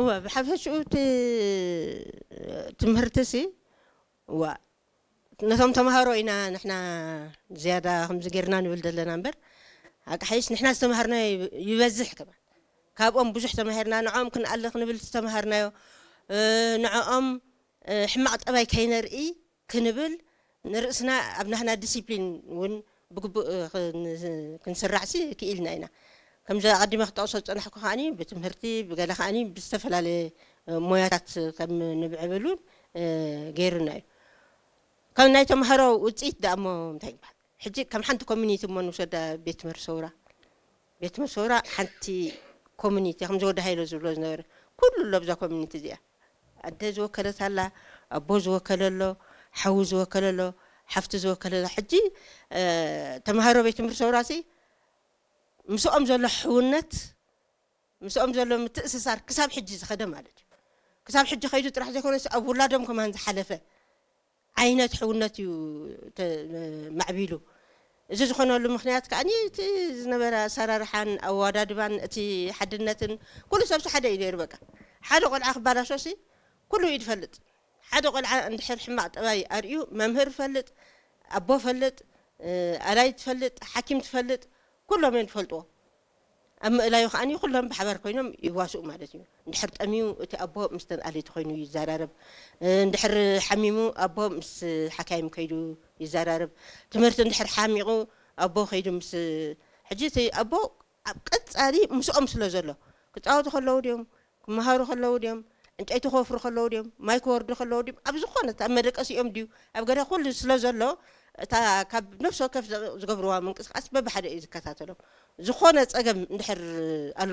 እዋ፣ ብሓፈሽኡ እቲ ትምህርቲ ሲ፣ እዋ፣ ነቶም ተምሃሮ ኢና ንሕና ዝያዳ ከምዚ ጌርና ንብል ዘለና እምበር፣ ኣቃሓይሽ ንሕና ዝተምሃርናዮ ይበዝሕ ከማን። ካብኦም ብዙሕ ተማሂርና፣ ንዕኦም ክንኣሊ ክንብል ዝተምሃርናዮ፣ እ፣ ንዕኦም፣ እ፣ ሕማቕ ጠባይ ከይነርኢ ክንብል ንርእስና ኣብ ናህና ዲሲፕሊን እውን ብግቡእ፣ እ፣ ክን-፣ ክንስራዕሲ ክኢልና ኢና። ከምዚ ኣቐዲመ ክጠቕሶ ዝጸናሕኩ ከኣኒ ብትምህርቲ፣ ብገለ ከኣኒ ብዝተፈላለየ፣ እ፣ ሞያታት ከም ንብዕብል እውን፣ እ፣ ገይሩና እዩ። ካብ ናይ ተምሃሮ ውጽኢት ደኣ እሞ እንታይ ይበሃል? ሕጂ ከም ሓንቲ ኮሚኒቲ እሞ ንውሰዳ ቤት ትምህርቲ ሰውራ። ቤት ትምህርቲ ሰውራ ሓንቲ ኮሚኒቲ፣ ከምዚ ወዲ ሃይለ ዝብሎ ዝነበረ፣ ኩሉ ኣሎ ኣብዛ ኮሚኒቲ እዚኣ። ኣደ ዝወከለት ኣላ፣ ኣቦ ዝወከለ ኣሎ፣ ሓዉ ዝወከለ ኣሎ፣ ሓፍቲ ዝወከለ ኣሎ። ሕጂ፣ እ፣ ተምሃሮ ቤት ትምህርቲ ሰውራሲ ምስኦም ዘሎ ሕውነት፣ ምስኦም ዘሎ ምትእስሳር ክሳብ ሕጂ ዝኸደ ማለት እዩ። ክሳብ ሕጂ ከይዱ ጥራሕ ዘይኮነስ ኣብ ውላዶም ከማን ዝሓለፈ ዓይነት ሕውነት እዩ ተ-፣ ማዕቢሉ። እዚ ዝኾነሉ ምኽንያት ከኣ እቲ ዝነበረ ኣሰራርሓን ኣወዳድባን እቲ ሓድነትን ኩሉ ሰብሲ ሓደ እዩ ነይሩ። በቃ ሓደ ቆልዓ ክባላሾሲ ኩሉ እዩ ዝፈልጥ። ሓደ ቆልዓ እንድሕር ሕማቕ ጠባይ ኣርእዩ መምህር ፈልጥ፣ ኣቦ ፈልጥ፣ እ፣ ኣላይ ትፈልጥ፣ ሓኪም ትፈልጥ፣ ኩሎም እዮም ዝፈልጥዎ። ኣብ ምእላዩ ከኣ ኩሎም ብሓባር ኮይኖም ይዋስኡ ማለት እዩ። እንድሕር ጠምዩ እቲ ኣቦ ምስ ተን ኣለይቲ ኮይኑ ይዘራረብ። እ፣ እንድሕር ሓሚሙ ኣቦ ምስ ሓካይም ከይዱ ይዘራረብ። ትምህርቲ እንድሕር ሓሚቑ ኣቦ ከይዱ ምስ፣ ሕጂ እቲ ኣቦ ኣብ ቀጻሊ ምስኦም ስለ ዘሎ፣ ክጻወቱ ከለዉ ድዮም፣ ክመሃሩ ከለዉ ድዮም፣ ዕንጨይቲ ክወፍሩ ከለዉ ድዮም፣ ማይ ክወርዱ ከለዉ ድዮም፣ ኣብ ዝኾነ ኣብ መደቀሲኦም ድዩ፣ ኣብ ገዳ ኩሉ ስለ ዘሎ፣ እታ ካብ ነፍሲ ወከፍ ዘ-፣ ዝገብርዋ ምንቅስቃስ በብሓደ እዩ ዝከታተሎም። ዝኾነ ጸገም እንድሕር ኣሎ